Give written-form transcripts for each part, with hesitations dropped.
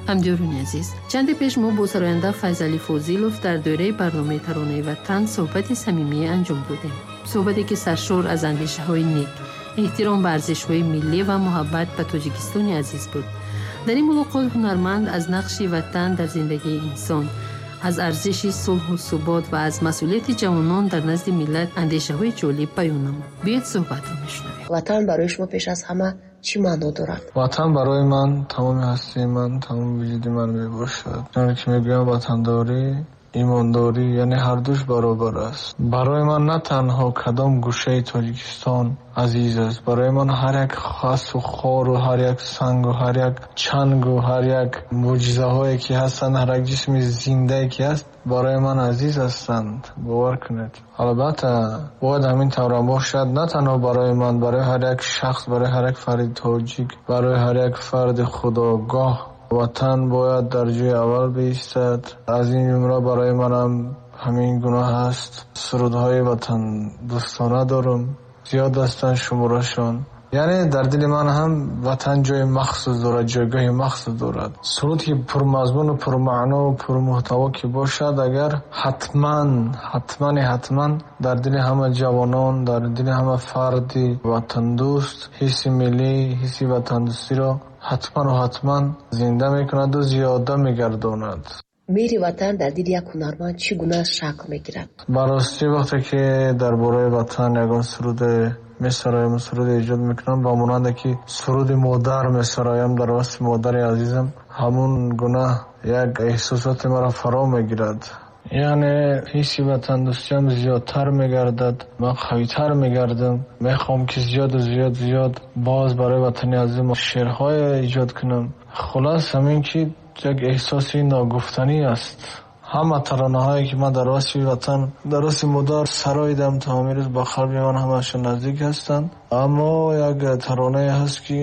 Ҳамдиёрони азиз, чанде пеш мо бо сароянда Файзалӣ Фозилов дар доираи барномаи Таронаи ватан суҳбати самимие анҷом додем. Суҳбате, ки саршор аз андешаҳои нек, эҳтиром ба арзишҳои миллӣ ва муҳаббат ба Тоҷикистони азиз буд. Дар ин мулоқот ҳунарманд аз нақши ватан дар зиндагии инсон, аз арзиши сулҳу субот ва аз масъулияти ҷавонон дар назди миллат андешаҳои ҷолиб баён намуд. Биёед, суҳбатро мешунавем. Ватан барои шумо пеш аз ҳама чӣ маъно дорад? Ватан барои ман тамоми ҳастии ман, тамоми вуҷуди ман мебошад. Чуноне ки мегӯям, ватандорӣ, имондорӣ, яъне ҳардуш баробар аст. Барои ман на танҳо кадом гӯшаи Тоҷикистон азиз аст, барои ман ҳар як хасу хору ҳар як сангу ҳар як чангу ҳар як мӯъҷизаҳое ки ҳастанд, ҳар як ҷисми зиндае ки ҳаст, барои ман азиз ҳастанд. Бовар кунед, албатта бояд ҳамин таврам бошад. На танҳо барои ман, барои ҳар як шахс, барои ҳар як фарди тоҷик, барои ҳар як фарди худогоҳ ватан бояд дар ҷои аввал биистад. Аз ин ҷумла барои манам ҳамин гуна ҳаст. Сурудҳои ватандӯстона дорам, зиёд ҳастанд шуморашон. Яъне дар дили ман ҳам ватан ҷои махсус дорад, ҷойгоҳи махсус дорад. Суруд ки пурмазмуну пурмаънову пурмуҳтаво ки бошад, агар ҳатман, ҳатмани ҳатман дар дили ҳама ҷавонон, дар дили ҳама фарди ватандӯст ҳисси миллӣ, ҳисси ватандӯстиро ҳатману ҳатман зинда мекунаду зиёда мегардонад. Меҳри ватан дар дили як ҳунарманд чӣ гуна шакл мегирад? Ба ростӣ, вақте ки дар бораи ватан ягон суруде месароям, суруде эҷод мекунам, ба монанде ки суруди модар месароям дар васфи модари азизам, ҳамун гуна як эҳсосоте маро фаро мегирад. Яъне ҳисси ватандӯстиам зиёдтар мегардад, ман қавитар мегардам, мехоҳам ки зиёду зиёд зиёд боз барои ватани азизам шеърҳое эҷод кунам. Хулос, ҳамин ки як эҳсоси ногуфтанӣ аст. Ҳама таронаҳое ки ман дар васфи ватан, дар васфи модар сароидам, то ҳамин рӯз ба қалби ман ҳамаашон наздик ҳастанд. Аммо як таронае ҳаст ки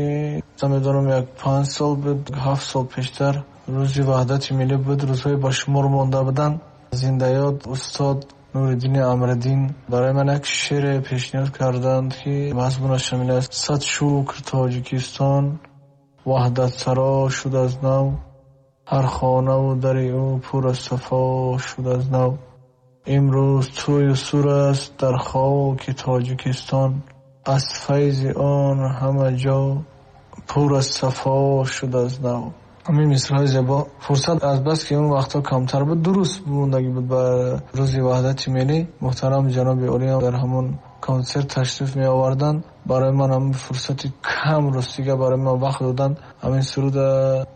намедонам, як 5 сол буд, 7 сол пештар, рӯзи ваҳдати миллӣ буд, рӯзҳои ба шумор монда буданд. Зиндаёд устод Нуриддини Амриддин барои ман як шеъре пешниҳод карданд, ки мазмунаш ҳамин аст: «Сад шукр, Тоҷикистон ваҳдатсаро шуд аз нав, ҳар хонаву дари ӯ пур аз сафо шуд аз нав. Имрӯз тӯю сур аст дар хоки Тоҷикистон, аз файзи он ҳама ҷо пур аз сафо шуд аз нав». Ҳамин мисраҳои зебо, фурсат аз бас ки он вақтҳо камтар буд, 2 рӯз мондагӣ буд ба рӯзи ваҳдати миллӣ, муҳтарам ҷаноби олиам дар ҳамон консерт ташриф меоварданд. Барои ман ҳамин фурсати кам, ростига, барои ман вақт доданд, ҳамин суруда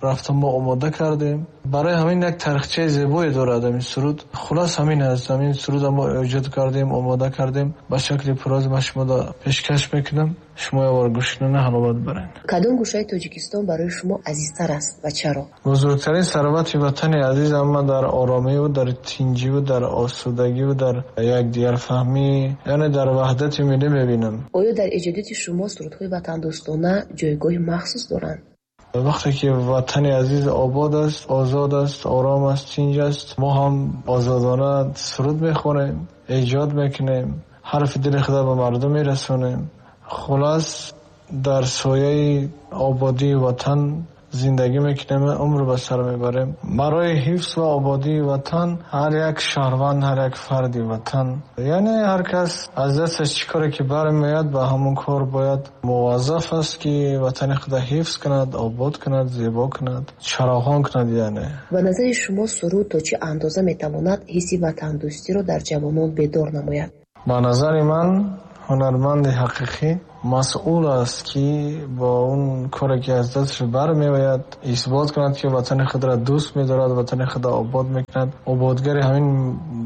рафта мо омода кардем. Барои ҳамин як тарихчаи зебое дорад ҳамин суруд. Хулос, ҳамин аст. Ҳамин суруда мо эҷод кардем, омода кардем, ба шакли пураз ман шумода пешкаш мекунам. Шумо якбор гӯш кунед, ҳаловат баред. Кадом гӯшаи Тоҷикистон барои шумо азизтар аст ва чаро? Бузургтарин сарвати ватани азизам ман дар оромиву дар тинҷиву дар осудагиву дар якдигарфаҳмӣ, яъне дар ваҳдати миллӣ мебинам. Оё дар эҷодиёти шумо сурудҳои ватандӯстона ҷойгоҳи махсус доранд? Вақте ки ватани азиз обод аст, озод аст, ором аст, тинҷ аст, мо ҳам озодона суруд мехонем, эҷод мекунем, ҳарфи дили худро ба мардум мерасонем. Хулос, дар сояи ободии ватан зиндагӣ мекунем, умр ба сар мебарем. Барои ҳифз ва ободии ватан ҳар як шаҳрванд, ҳар як фарди ватан, яъне ҳар кас аз дасташ чӣ коре ки бармеояд, ба ҳамон кор бояд муваззаф аст, ки ватани худро ҳифз кунад, обод кунад, зебо кунад, чароғон кунад яъне. Ба назари шумо, суруд то чӣ андоза метавонад ҳисси ватандӯстиро дар ҷавонон бедор намояд? Ба назари ман, ҳунарманди ҳақиқӣ масъул аст, ки бо он коре ки аз дасташ бармеояд, исбот кунад, ки ватани худро дӯст медорад, ватани худро обод мекунад, ободгари ҳамин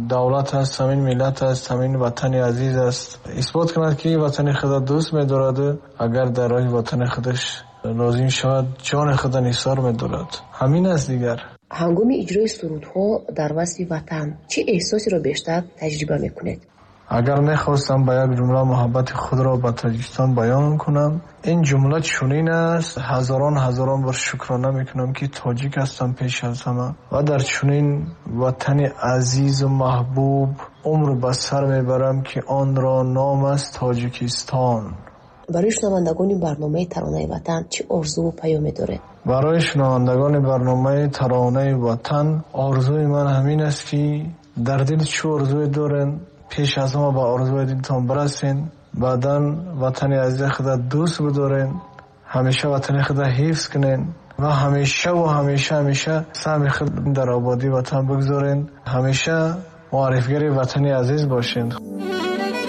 давлат аст, ҳамин миллат аст, ҳамин ватани азиз аст. Исбот кунад, ки ватани худро дӯст медораду агар дар роҳи ватани худаш лозим шавад, ҷони худро нисор медорад. Ҳамин аст дигар. Ҳангоми иҷрои сурудҳо дар васфи ватан чӣ эҳсосеро бештар таҷриба мекунед? Агар мехостам ба як ҷумла муҳаббати худро ба Тоҷикистон баён кунам, ин ҷумла чунин аст: ҳазорон ҳазорон бор шукрона мекунам, ки тоҷик ҳастам пеш аз ҳама ва дар чунин ватани азизу маҳбуб умр ба сар мебарам, ки онро ном аст Тоҷикистон. Барои шунавандагони барномаи Таронаи ватан чӣ орзуву паёме доред? Барои шунавандагони барномаи Таронаи Ватан орзуи ман ҳамин аст, ки дар дил чӣ орзуе дорен, пеш аз ҳама ба орзуи дилтон бирасен, баъдан ватани азизи худа дӯст бидорен, ҳамеша ватани худа ҳифз кунен ва ҳамеша ва ҳамеша ҳамеша саҳми худ дар ободии ватан бигзорен, ҳамеша муаррифгари ватани азиз бошен.